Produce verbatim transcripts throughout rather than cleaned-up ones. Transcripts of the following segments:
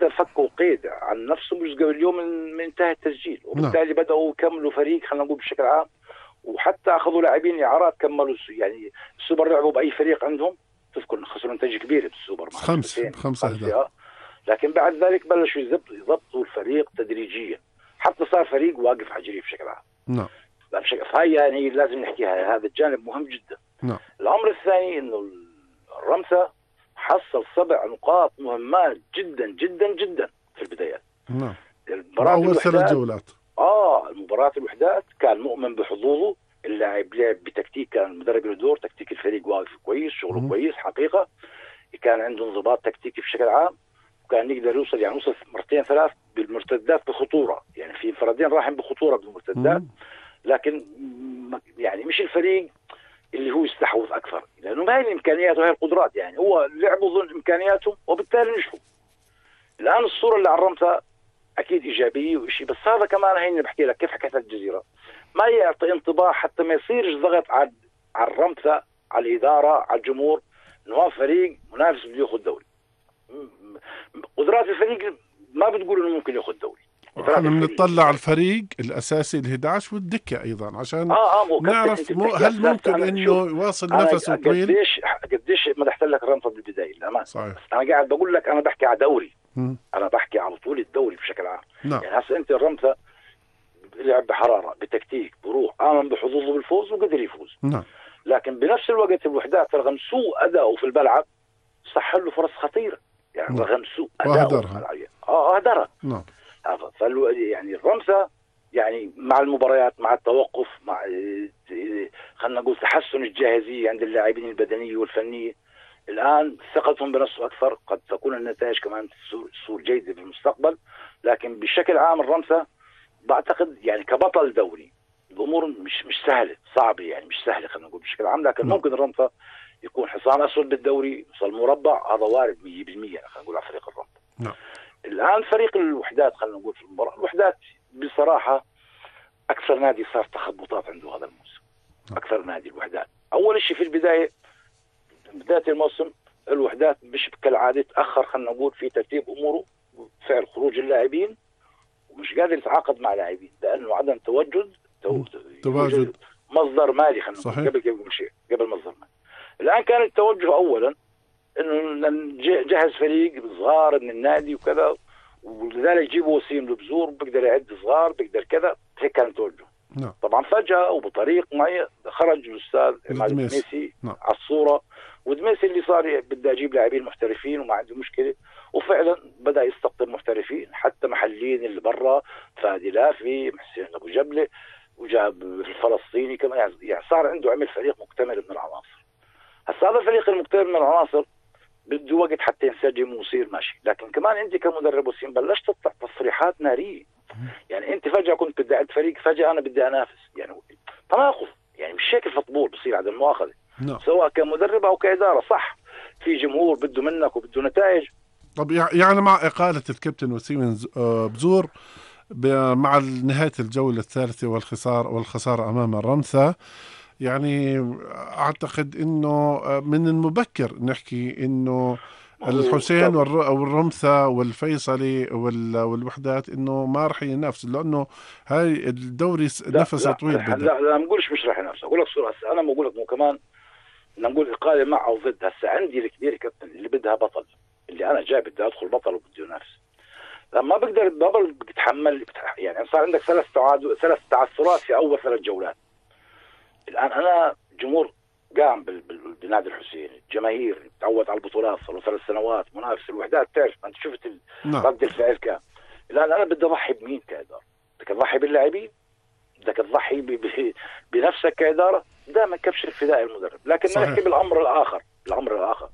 الرمثا فكوا قيد عن نفسهم مش قبل اليوم من انتهى التسجيل، وبالتالي نعم. بدأوا يكملوا فريق خلينا نقول بشكل عام، وحتى أخذوا لاعبين إعارات كملوا يعني السوبر. لعبوا بأي فريق عندهم تذكر خسروا نتائج كبيرة بالسوبر مع خمسة خمسة أهداف، لكن بعد ذلك بلشوا يضبطوا الفريق تدريجيا حتى صار فريق واقف على جريه بشكل عام. نعم. فهي يعني لازم نحكيها، هذا الجانب مهم جدا. نعم. الأمر الثاني إنه الرمثا حصل سبع نقاط مهمات جدا جدا جدا في البدايات. نعم. أول ثلاث جولات. آه المباراة الوحدات كان مؤمن بحظوظه، اللاعب لعب بتكتيك، كان المدرب له دور، تكتيك الفريق واقف كويس، شغله م- كويس حقيقة، كان عنده انضباط تكتيكي بشكل عام، وكان يقدر يوصل يعني وصل مرتين ثلاث بالمرتدات بخطورة، يعني في انفرادين راحين بخطورة بالمرتدات، لكن يعني مش الفريق اللي هو يستحوذ أكثر، لأنه ما هي الإمكانيات وهي القدرات، يعني هو لعبوا ضمن إمكانياتهم وبالتالي نجحوا. الآن الصورة اللي على الرمثا أكيد إيجابية وإشي، بس هذا كمان هيني بحكي لك كيف حكيت الجزيرة، ما يعطي انطباع حتى ما يصيرش ضغط على على الرمثا، على الإدارة، على الجمهور، إنه هو فريق منافس بده ياخذ دوري. قدرات الفريق ما بتقول إنه ممكن ياخذ دوري. احنا بنطلع على الفريق الأساسي الأحد عشر والدكة أيضا عشان آه آه نعرف مو هل ممكن إنه يواصل نفسه طويل. قديش قديش مدحت لك الرمثا بالبداية الأمان. صحيح. أنا قاعد بقول لك أنا بحكي على دوري. م. أنا بحكي على طول الدوري بشكل عام. نعم. يعني هسه أنت الرمثا لعب بحرارة بتكتيك بروح، آمن بحظوظه بالفوز وقدر يفوز. نعم. لكن بنفس الوقت الوحدات رغم سوء أداؤه في الملعب صح له فرص خطيرة، يعني نعم. رغم سوء أداؤه في الملعب اه أهدرها. نعم. فالو يعني الرمثا يعني مع المباريات، مع التوقف، مع خلينا نقول تحسن الجاهزية عند اللاعبين البدنية والفنية، الآن ثقتهم بنفسه أكثر، قد تكون النتائج كمان تصير جيدة في المستقبل. لكن بشكل عام الرمثا بعتقد يعني كبطل دوري الأمور مش مش سهلة، صعبة يعني مش سهلة خلينا نقول بشكل عام، لكن ممكن الرمثا يكون حصان أسود بالدوري، يوصل مربع، هذا وارد مية بالمية خلينا نقول على فريق الرمثا. نعم. الآن فريق الوحدات خلينا نقول في المباراة، الوحدات بصراحة أكثر نادي صار تخبطات عنده هذا الموسم. أكثر نادي الوحدات، أول شيء في البداية بداية الموسم الوحدات مش كالعادة تأخر خلينا نقول في ترتيب أموره، فعل خروج اللاعبين، ومش قادر يتعاقد مع لاعبين لأنه عدم تواجد تو... تواجد مصدر مالي خلينا نقول قبل قبل شيء قبل مصدر مالي. الآن كان التوجه أولا إنه نجهز فريق صغار من النادي وكذا، ولذلك يجيبوا وسيم لبزور بقدر يعد صغار بقدر كذا، هيك كان التوجه. نعم. طبعا فجأة وبطريق معي خرج الأستاذ عماد الدميسي نعم. على الصورة، ودميسي اللي صار بدي أجيب لاعبين محترفين وما عنده مشكلة، وفعلا بدأ يستقطب محترفين حتى محليين اللي برا، فادي لافي، محسين أبو جبلة، وجاب الفلسطيني كمان، يعني صار عنده عمل فريق مكتمل من العناصر. هسا هذا الفريق المكتمل من العناصر بده وقت حتى ينسجم ويصير ماشي، لكن كمان انت كمدرب وسيم بلشت تطلع تصريحات ناريه، يعني انت فجأة كنت بدي اعد فريق، فجأة انا بدي انافس، يعني تناقض، يعني مش هيك الفوتبول بصير عدم المؤاخذة. نعم. سواء كمدرب او كإدارة، صح في جمهور بده منك وبده نتائج. طب يعني مع إقالة الكابتن وسيم بزور مع نهاية الجولة الثالثة والخسارة والخسارة أمام الرمثا، يعني أعتقد إنه من المبكر نحكي إنه الحسين والرمثا والفيصلي والوحدات إنه ما رح ينافس، لأنه هاي الدوري نفسه طويل. لا لا لا نقولش مش رح ينافس، أقول لك صورة هسه أنا بقول لك مو كمان نقول إقالة مع أو ضد. هسه عندي الكبير كابتن اللي بدها بطل، اللي أنا جاي بدي أدخل بطل وبدي ينافس، لما بقدر البطل بتحمل يعني صار عندك ثلاث تعادل ثلاث تعثرات في أول ثلاث جولات. الآن أنا جمهور قام بنادي الحسين، الجماهير تعود على البطولات، صاروا ثلاث سنوات منافس الوحدات، تعرف أنت شفت رد الفعل كان. الآن أنا بدي أضحي بمين كإدارة؟ بدك تضحي باللاعبين؟ بدك تضحي بنفسك كإدارة؟ دائما كبش الفداء المدرب. لكن نحكي بالأمر الآخر، الأمر الآخر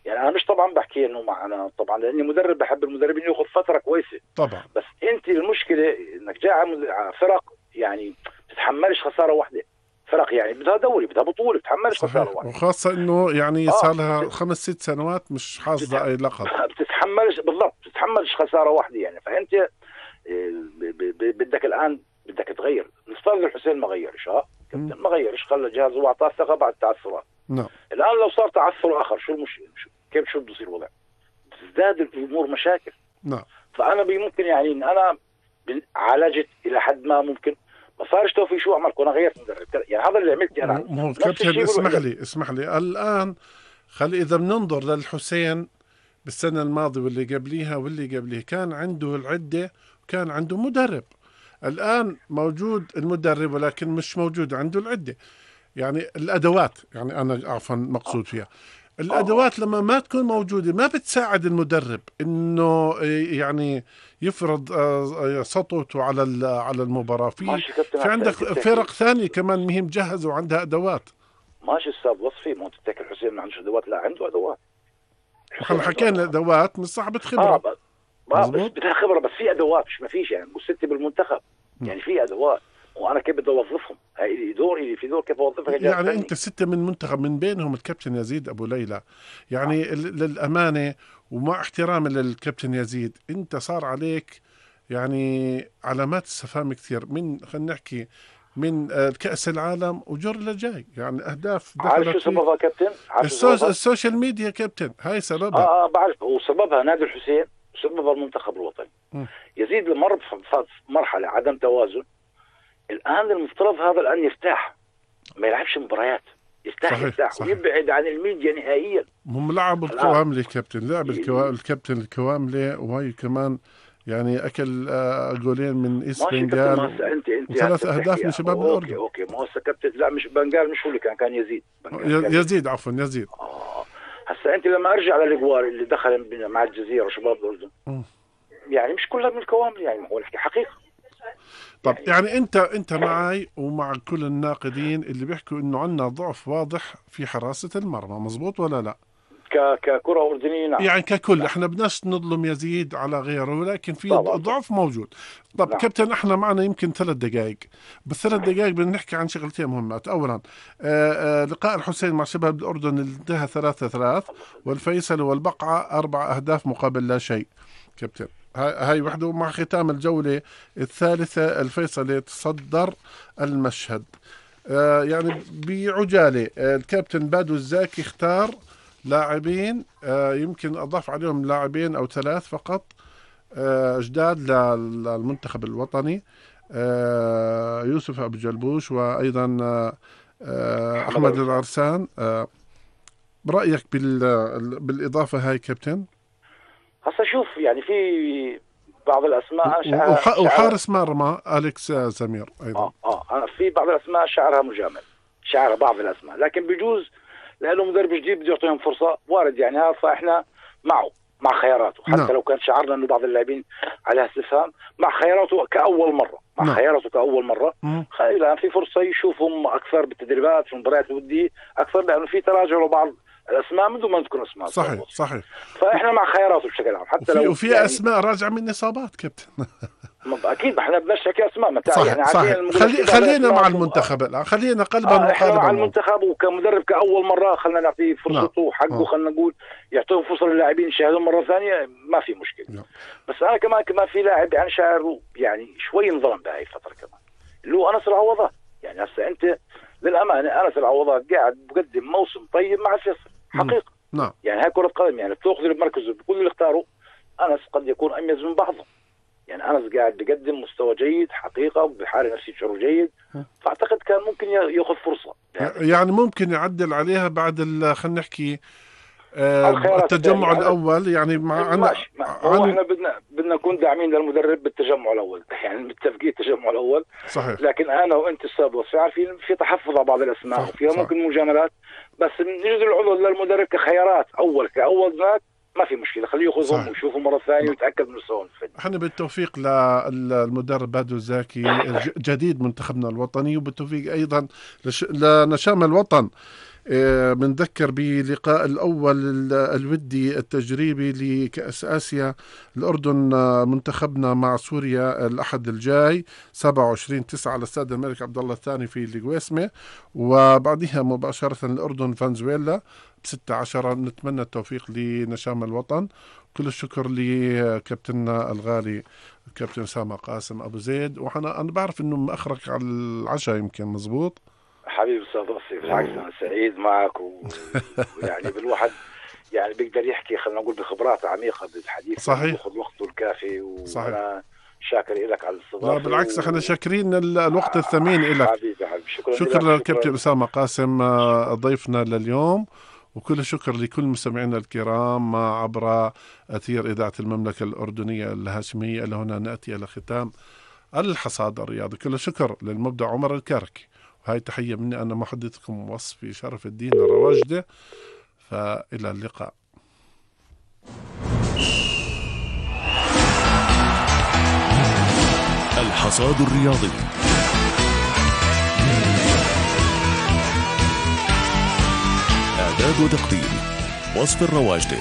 يعني أنا مش طبعا بحكي إنه معنا طبعا لأني مدرب بحب المدربين يأخذ فترة كويسة طبعا، بس أنت المشكلة إنك جاي على فرق يعني تتحملش خسارة واحدة، فرق يعني بدها دوري بدها بطولة تتحملش خسارة واحدة، وخاصة إنه يعني صار لها خمس ست سنوات مش حاظة أي لقب، بتتحملش بالضبط بتتحملش خسارة واحدة يعني. فأنت بدك الآن بدك تغير. نفترض الحسين ما غيرش، ها كابتن ما غيرش، خلى جهازه واعطاه ثقة بعد تعثرات. نعم. الآن لو صار تعثر آخر شو المشكلة؟ كيف شو بده يصير الوضع؟ تزداد الأمور مشاكل. نعم. فانا ممكن يعني ان انا عالجت الى حد ما، ممكن ما صارش توفيق شو عملت، انا غيرت مدرب يعني. هذا اللي عملت انا. مو هو كابتن اسمح لي اسمح لي الان، خلي اذا بننظر للحسين بالسنه الماضيه واللي قبليها واللي قبليه كان عنده العده وكان عنده مدرب. الان موجود المدرب ولكن مش موجود عنده العده، يعني الادوات، يعني انا عفوا مقصود فيها الادوات لما ما تكون موجوده ما بتساعد المدرب انه يعني يفرض سطوته على على المباراه. في في عندك فرق ثانيه كمان مهم جهزوا عندها ادوات. ماشي استاذ وصفي، ما تتذكر الحسين ما عندوش ادوات؟ لا عنده ادوات. احنا حكينا ادوات مش صاحبة خبره. اه بس بدها خبره، بس في ادوات مش ما فيش يعني. وستة بالمنتخب يعني في ادوات، وانا كيف بدي اوظفهم؟ هاي دور اللي في دور كيف اوظفها. يعني انت ستة من منتخب، من بينهم الكابتن يزيد ابو ليلى، يعني آه. للامانه ومع احترامي للكابتن يزيد، انت صار عليك يعني علامات استفهام كثير من خلينا نحكي من كأس العالم وجر لجاي، يعني اهداف دخلت. عارف شو سببها كابتن؟ السوش... السوشيال ميديا كابتن، هاي سببها. اه اه بعرف، وسببها نادي الحسين وسببها المنتخب الوطني. م. يزيد لمر في مرحله عدم توازن. الان المفترض هذا الان يرتاح، ما يلعبش مباريات، يرتاح صحيح يرتاح صحيح. ويبعد عن الميديا نهائيا. هم لعب الكواملي كابتن، لعب الكوا... الكابتن الكواملي، وهي كمان يعني اكل جولين من ايست بنغال انت انت وثلاث اهداف من شباب أوكي الاردن. اوكي اوكي ما هو كابتن، لا مش بنغال، مش هو اللي كان كان يزيد يزيد عفوا يزيد. اه هسا انت لما ارجع للاجوار اللي دخل مع الجزيره وشباب الاردن م. يعني مش كلها من الكوامل، يعني هو نحكي حقيقه. طب يعني, يعني انت انت معي ومع كل الناقدين اللي بيحكوا انه عندنا ضعف واضح في حراسه المرمى، مزبوط ولا لا؟ ك ككره اردنيه نعم. يعني ككل نعم. احنا بدناش نظلم يزيد على غيره، ولكن في طبعا. ضعف موجود. طب نعم. كابتن احنا معنا يمكن ثلاث دقائق، بالثلاث دقائق بدنا نحكي عن شغلتين مهمات. اولا آآ آآ لقاء الحسين مع شباب الاردن انتهى ثلاثة ثلاث، والفيصل والبقعه اربع اهداف مقابل لا شيء. كابتن هاي وحده. مع ختام الجوله الثالثه الفيصل يتصدر المشهد. آه يعني بعجاله الكابتن بادو الزاكي اختار لاعبين، آه يمكن أضاف عليهم لاعبين أو ثلاث فقط آه جداد للمنتخب الوطني، آه يوسف أبو جلبوش وأيضا آه أحمد العرسان. آه برأيك بالإضافة هاي كابتن؟ هسا شوف يعني في بعض الأسماء شعرها وح... وحارس مرمى أليكس سمير أيضا. آه آه أنا في بعض الأسماء شعرها مجامل، شعرها بعض الأسماء، لكن بجوز لأنه مدرب جديد بده يعطيهم فرصة، وارد يعني هذا، فإحنا معه مع خياراته حتى نعم. لو كان شعرنا إنه بعض اللاعبين عليها استفهام، مع خياراته كأول مرة مع نعم. خياراته كأول مرة الآن في فرصة يشوفهم أكثر بالتدريبات في المباريات الودية أكثر، لأنه في تراجع لبعض الأسماء من دون ما نذكر أسماء. صحيح صحيح. فإحنا مع خياراته بشكل عام، حتى وفي لو وفي يعني أسماء راجعة من إصابات كابتن. اكيد ما احنا بدناش نحكي اسماء متى صحيح يعني صحيح. خلي خلينا مع المنتخب الان، خلينا قلبا آه وقالبا مع المنتخب، وكمدرب كاول مره خلينا نعطيه فرصته وحقه، خلينا نقول يعطيهم فرصه للاعبين يشاهدون مره ثانيه، ما في مشكله. نعم. بس انا كمان كمان في لاعب يعني شاعر يعني شوي انظلم بهاي الفتره كمان، اللي هو انس العوضات. يعني هسه انت للامانه انس العوضات قاعد بقدم موسم طيب مع الفيصل حقيقه. نعم. يعني هاي كره قدم، يعني بتاخذ بمركزه بكل اللي اختاره انس قد يكون اميز من بعضهم. يعني أنس قاعد بيقدم مستوى جيد حقيقة وبحال نفسي شعور جيد، فأعتقد كان ممكن يأخذ فرصة. يعني, يعني ممكن يعدل عليها بعد خلينا نحكي آه التجمع يعني الأول، يعني مع عن... ماشي هو احنا بدنا بدنا نكون داعمين للمدرب بالتجمع الأول، يعني متفقين التجمع الأول صحيح. لكن أنا وأنت السابق عارفين في تحفظ على بعض الأسماء وفيها ممكن مجاملات، بس نجد العذر للمدرب كخيارات أول كأول ذاك ما في مشكله، خليه ياخذهم ويشوفوا مره ثانيه ويتاكد من مستواهم. احنا بالتوفيق للمدرب بادو الزاكي جديد منتخبنا الوطني، وبالتوفيق ايضا لش... لنشام الوطن. بنذكر بلقاء الأول الودي التجريبي لكأس آسيا الأردن منتخبنا مع سوريا الأحد الجاي سبعة وعشرين تسعة على استاد الملك عبد الله الثاني في القويسمة، وبعدها مباشرة الأردن فنزويلا بستة عشر. نتمنى التوفيق لنشام الوطن. كل الشكر لكابتننا الغالي الكابتن أسامة قاسم أبو زيد، وأنا أنا بعرف إنه مأخرك على العشاء يمكن، مزبوط؟ حبيبي استاذ وصي، بالعكس انا سعيد معك ويعني بالواحد يعني بيقدر يحكي خلينا نقول بخبرات عميقة بالحديث، صحيح، ياخذ وقته الكافي. وأنا صحيح. شاكر لك على الاستضافة. لا بالعكس، و... احنا شاكرين ال- الوقت الثمين إلك. حبيبي حبيبي شكرا, شكرا لك. للكابتن أسامة قاسم آه، ضيفنا لليوم، وكل شكر لكل مستمعينا الكرام عبر أثير إذاعة المملكة الأردنية الهاشمية. لهنا نأتي إلى ختام الحصاد الرياضي. كل شكر للمبدع عمر الكركي، وهي تحية مني أنا محدثكم وصفي شرف الدين الرواجدة. فإلى اللقاء. الحصاد الرياضي. إعداد وتقديم وصف الرواجدة.